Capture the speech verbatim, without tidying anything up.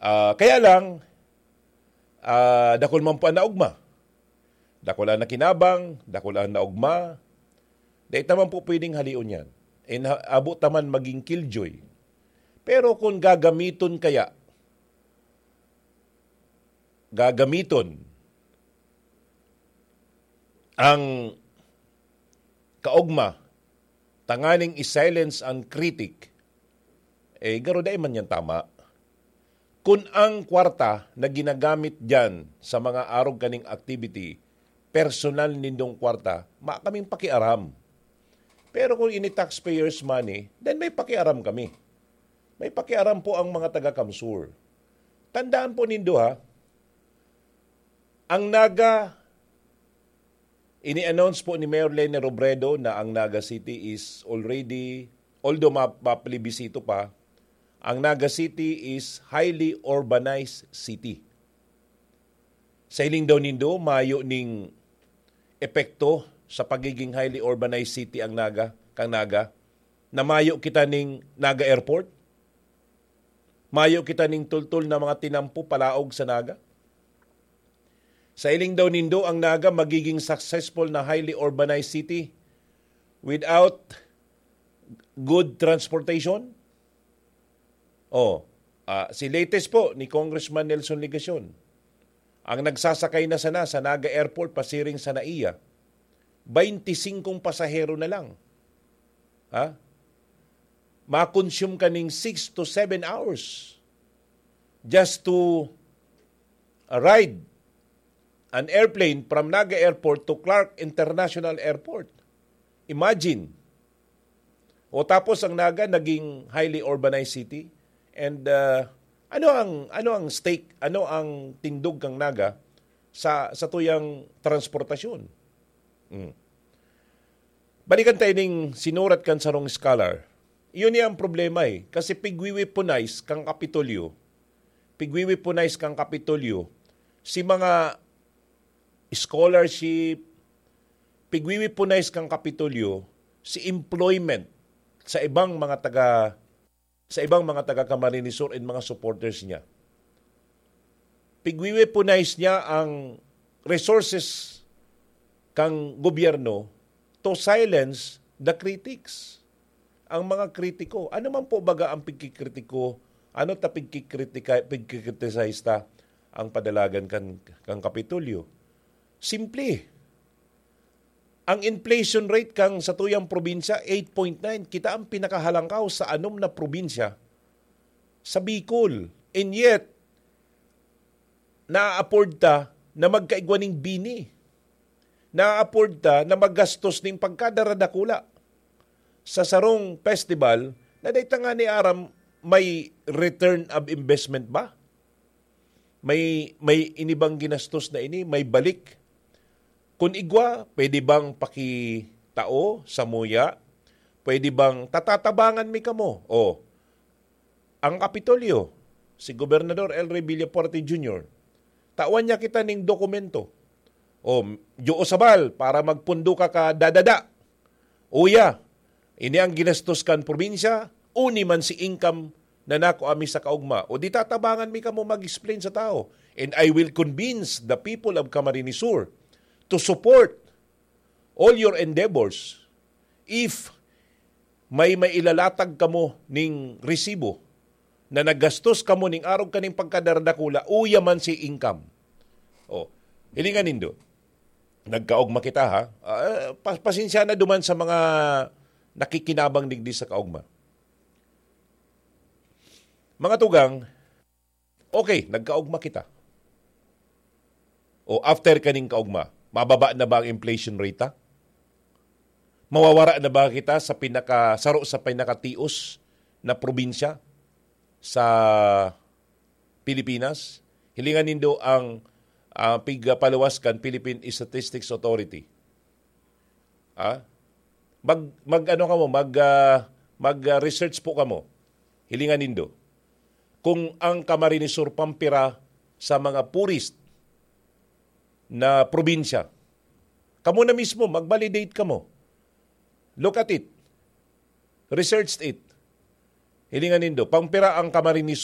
Ah, kaya lang, ah, dakul man po ang naogma. Dakul ang nakinabang, dakul ang naogma. Dai ta man po pwedeng halion yan. And ha-, abo ta man maging killjoy. Pero kung gagamiton kaya, gagamiton ang kaogma tanganing i-silence ang critic, eh, garo dai man yan tama. Kun ang kwarta na ginagamit diyan sa mga arog kaning activity, personal nindong kwarta, ma kaming pakiaram. Pero kung ini taxpayers' money, then may pakiaram kami. May pakiaram po ang mga taga-CamSur. Tandaan po nindo, ha, ang Naga, ini-announce po ni Mayor Leni Robredo na ang Naga City is already, although ma-, maplebisito pa, ang Naga City is highly urbanized city. Sa hiling daw nindo, mayo ning epekto sa pagiging highly urbanized city ang Naga, kang Naga, na mayo kita ning Naga Airport? Mayo kita ning tultol na mga tinampo palaog sa Naga? Sa hiling daw nindo, ang Naga magiging successful na highly urbanized city without good transportation? Oh, ah, si latest po ni Congressman Nelson Legacion, ang nagsasakay na sana sa Naga Airport pasiring sa NAIA, baynti singkong pasahero na lang. Ha? Ma-consume ka ning six to seven hours just to ride an airplane from Naga Airport to Clark International Airport. Imagine. O tapos ang Naga naging highly urbanized city. And, uh, ano ang, ano ang stake, ano ang tindog kang Naga sa, sa tuyang transportasyon? Mm. Balikan tayo ning sinurat kan sarong scholar. Iyon niya ang problema eh. Kasi pigwi-weaponize kang Kapitolyo. Pigwi-weaponize kang Kapitolyo. Si mga scholarship, pigwi-weaponize kang Kapitolyo, si employment sa ibang mga taga, sa ibang mga taga Camarines Sur and mga supporters niya. Pigwi-weaponize niya ang resources kang gobyerno to silence the critics. Ang mga kritiko, ano man po baga ang pigkikritiko, ano ta pigkikritika-, pigkikriticize ta ang padalagan kan, kan Kapitolyo? Simple. Ang inflation rate kang satuyang probinsya, eight point nine. Kita ang pinakahalangkaw sa anom na probinsya sa Bicol. And yet, na-afford ta na magkaigwa ning bini. Na-afford ta na maggastos ning pagkadaradakula sa sarong festival na dai ta ngani aram may return of investment ba? May, may inibang ginastos na ini, may balik. Kun igwa, pwede bang pakitao, samuya? Pwede bang tatatabangan mi kamo? O, ang Kapitolyo, si Gobernador El Rey Villafuerte Junior, tawan niya kita ning dokumento. O, Diyo sabal, para magpundo ka ka dadada. Uya, ini ang ginastos kan probinsya, uni man si income na nako ami sa kaugma. O di tatabangan mi kamo mag-explain sa tao. And I will convince the people of Camarines Sur to support all your endeavors if may mailalatag kamo ning resibo na naggastos kamo ning arog kaning pagkadaradakula, uya man si income. O, hilingan nindo. Nagkaogma kita, ha? Ah, pa-, pasensya na duman sa mga nakikinabang digdi sa kaogma. Mga tugang, okay, nagkaogma kita. O after kaning kaogma, mababa na ba ang inflation rate, ha? Mawawara na ba kita sa pinaka-, saro sa pinakatios na probinsya sa Pilipinas? Hilingan nindo ang, ah, pigpaluwas kan Philippine Statistics Authority. Ah? Mag, mag ano kamo, mag, ah, mag, ah, research po kamo. Hilingan nindo. Kung ang Camarines Sur pampira sa mga poorest na probinsya, kamo na mismo, mag-validate kamo. Look at it. Research it. Hilingan nindo, pampira ang Camarines